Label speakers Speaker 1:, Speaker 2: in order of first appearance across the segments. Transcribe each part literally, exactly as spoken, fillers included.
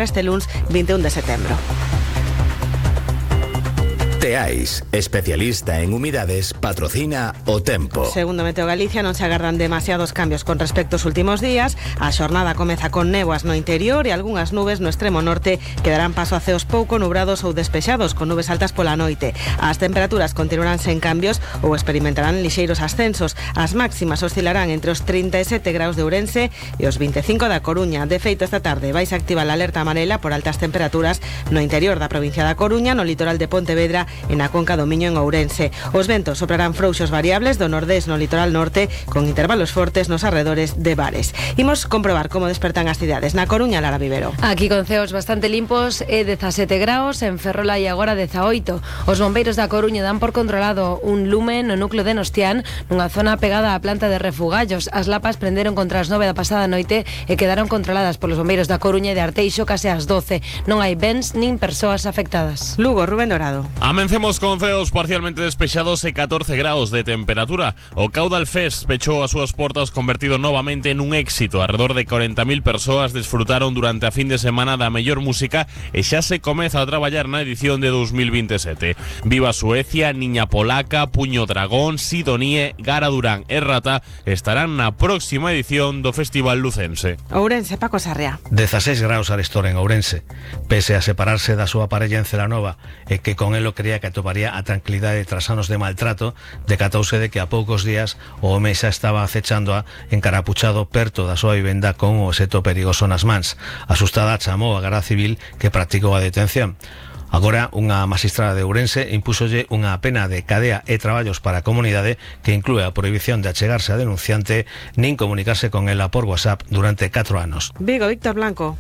Speaker 1: este lunes veintiuno de setembro.
Speaker 2: Teais, especialista en humidades, patrocina o tempo.
Speaker 1: Segundo Meteo Galicia, non se agardan demasiados cambios con respecto aos últimos días. A xornada comeza con néboas no interior e algunhas nubes no extremo norte que darán paso a ceos pouco nubrados ou despexados con nubes altas pola noite. As temperaturas continuarán sen cambios ou experimentarán lixeiros ascensos. As máximas oscilarán entre os trinta e sete graus de Ourense e os veinticinco da Coruña. De feito, esta tarde vais a activar a alerta amarela por altas temperaturas no interior da provincia da Coruña, no litoral de Pontevedra e na Conca do Miño en Ourense. Os ventos soprarán frouxos variables do nordés no litoral norte con intervalos fortes nos arredores de Bares. Imos comprobar como despertan as cidades. Na Coruña, Lara Vivero.
Speaker 3: Aquí con ceos bastante limpos e dezasete graus, en Ferrol hai agora dezaoito. Os bombeiros da Coruña dan por controlado un lume no núcleo de Nostián, nunha zona pegada á planta de Refugallos. As lapas prenderon contra as nove da pasada noite e quedaron controladas polos bombeiros da Coruña e de Arteixo case ás doce. Non hai bens nin persoas afectadas.
Speaker 1: Lugo, Rubén Dorado.
Speaker 4: Amencemos con ceos parcialmente despexados e catorce graus de temperatura. O Caudal Fest pechou as súas portas convertido novamente nun éxito. Alrededor de cuarenta mil persoas desfrutaron durante a fin de semana da mellor música e xa se comeza a traballar na edición de dos mil veintisiete. Viva Suecia, Niña Polaca, Puño Dragón, Sidonie, Gara Durán e Rata estarán na próxima edición do Festival Lucense.
Speaker 1: Ourense, Paco Sarria.
Speaker 5: dezaseis graus arestor en Ourense. Pese a separarse da súa parella en Celanova e que con elo creía que atoparía a tranquilidade tras anos de maltrato, decatouse de que a poucos días o home xa estaba acechándoa encarapuchado perto da súa vivenda con un obxecto perigoso nas mans. Asustada chamou a Garda Civil que practicou a detención. Agora, unha magistrada de Ourense impúsolle unha pena de cadea e traballos para a comunidade que inclúe a prohibición de achegarse a denunciante nin comunicarse con ela por WhatsApp durante catro anos.
Speaker 1: Vigo, Víctor Blanco.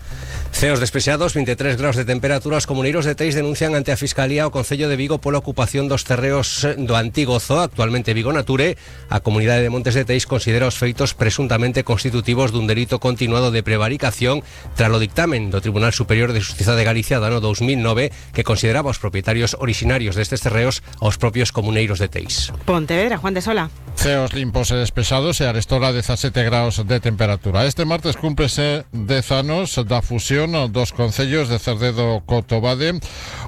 Speaker 6: Ceos despexados, veintitrés graus de temperatura. Os comuneiros de Teis denuncian ante a Fiscalía o Concello de Vigo pola ocupación dos terreos do antigo zoo, actualmente Vigo Nature. A comunidade de Montes de Teis considera os feitos presuntamente constitutivos dun delito continuado de prevaricación tras o dictamen do Tribunal Superior de Xustiza de Galicia do ano dos mil nove que consideraba os propietarios orixinarios destes terreos aos propios comuneiros de Teis.
Speaker 1: Pontevedra, Juan de Sola.
Speaker 7: Ceos limpos e despexados e arestora dezasete graus de temperatura. Este martes cúmprese dez anos da fusión dos concellos de Cerdedo Cotobade,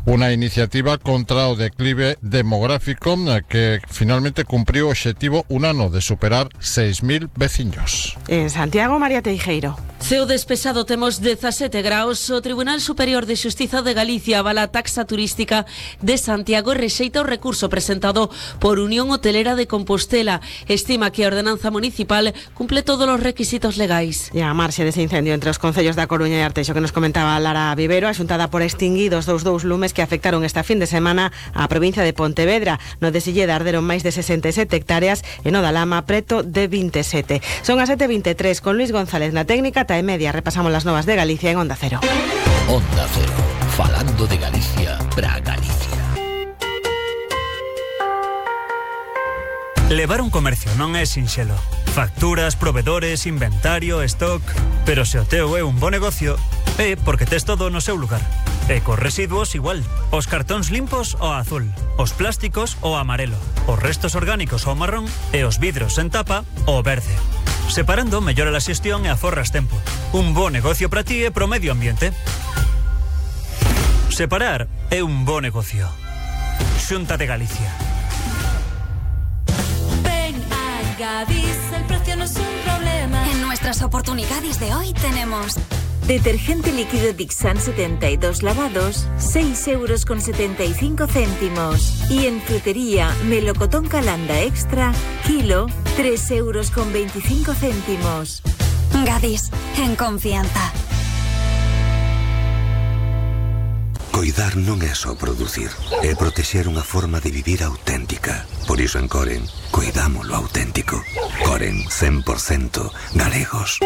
Speaker 7: unha iniciativa contra o declive demográfico que finalmente cumpriu o obxectivo un ano de superar seis mil veciños.
Speaker 1: En Santiago, María Teijeiro.
Speaker 8: Ceo despexado, temos dezasete graus. O Tribunal Superior de Xustiza de Galicia avala a taxa turística de Santiago e rexeita o recurso presentado por Unión Hotelera de Compostela. Estima que a ordenanza municipal cumple todos os requisitos legais.
Speaker 1: E a marxe dese incendio entre os concellos da Coruña e Arteixo que nos comentaba Lara Vivero, axuntada por extinguidos dous dous lumes que afectaron esta fin de semana a provincia de Pontevedra. No de Silleda arderon máis de sesenta e sete hectáreas e no da Lama preto de veintisiete. Son as sete e veintitrés con Luis González na técnica. E media repasamos las novas de Galicia en Onda Cero.
Speaker 2: Onda Cero, falando de Galicia para Galicia.
Speaker 9: Levar un comercio non é sinxelo. Facturas, provedores, inventario, stock... Pero se o teu é un bo negocio, é porque tes todo no seu lugar. E cos residuos igual. Os cartóns limpos o azul, os plásticos o amarelo, os restos orgánicos o marrón e os vidros en tapa o verde. Separando, mellora a xestión e aforras tempo. Un bo negocio para ti e pro medio ambiente. Separar é un bo negocio. Xunta de Galicia.
Speaker 10: Ven a Gadis, el precio no es un problema. En nuestras oportunidades de hoy tenemos
Speaker 11: detergente líquido Dixan setenta y dos lavados, seis euros con setenta y cinco céntimos. Y en frutería, melocotón Calanda Extra, kilo, tres euros con veinticinco céntimos.
Speaker 10: Gadis, en confianza.
Speaker 12: Coidar non é só producir, é protexer unha forma de vivir auténtica. Por iso en Coren, coidamos lo auténtico. Coren, cen por cento galegos.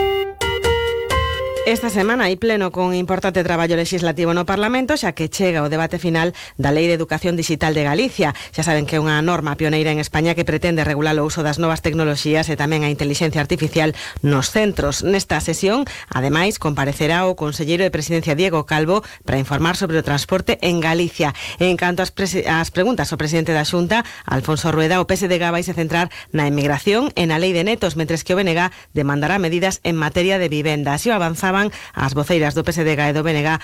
Speaker 1: Esta semana hai pleno con importante traballo legislativo no Parlamento, xa que chega o debate final da Lei de Educación Digital de Galicia. Xa saben que é unha norma pioneira en España que pretende regular o uso das novas tecnoloxías e tamén a inteligencia artificial nos centros. Nesta sesión, ademais, comparecerá o conselleiro de Presidencia Diego Calvo para informar sobre o transporte en Galicia. En canto ás, ás preguntas ao presidente da Xunta, Alfonso Rueda, o P S D G vai se centrar na emigración e na Lei de Netos, mentres que o B N G demandará medidas en materia de vivenda. Así o avanzaba manifestaban as voceiras do P S D e do B N G